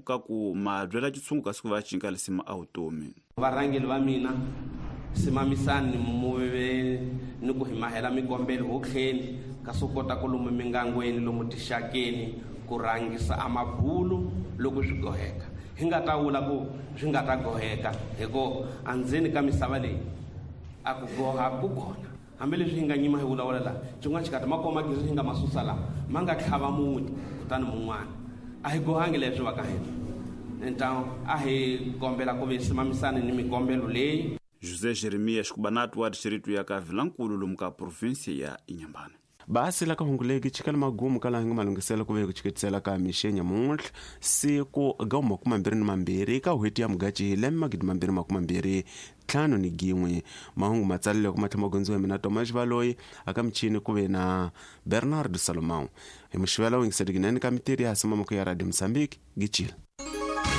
Ka ku ma byela tshungu kasi ku va cinca lisima a vutomi. Varhangeli va mina, simamisani muve ni ku hi mahela mikombelo hotlheni ka swo kota ku lomu mingangweni, lomu tixakeni, ku rhangisa a mabulu loko swi goheka. Hi nga ta vula ku swi nga ta goheka hi ku andzeni ka misava leyi a ku goha ku kona. Hambileswi hi nga nyima hi vulavula laha, xin'wana xikati ma koma gezi hi nga ma susa laha, ma nga tlhava mun'we kutani mun'wana. A hi gohangi leswi va ka hina. Ntamu a hi kombela ku ve simamisani ni mikombelo leyi. José Jeremias Kubanatu wa distrito ya ka Vilankulu lomu ka província ya Inhambane. Basi la ka hunguleki chikala magumu kala hinga malungisela ku ve ku chiketisela ka mixenya muntlha siku ga 22 ka hweti ya Mugachi lembe 2025. Mahungu matsalele ku matlha magondziwa mina Tomas Valoyi aka michini ku ve na Bernardo Salomão. Hi muxivela wingisetekinene ka mitiri ya simamako ya Radio Mozambique gichila.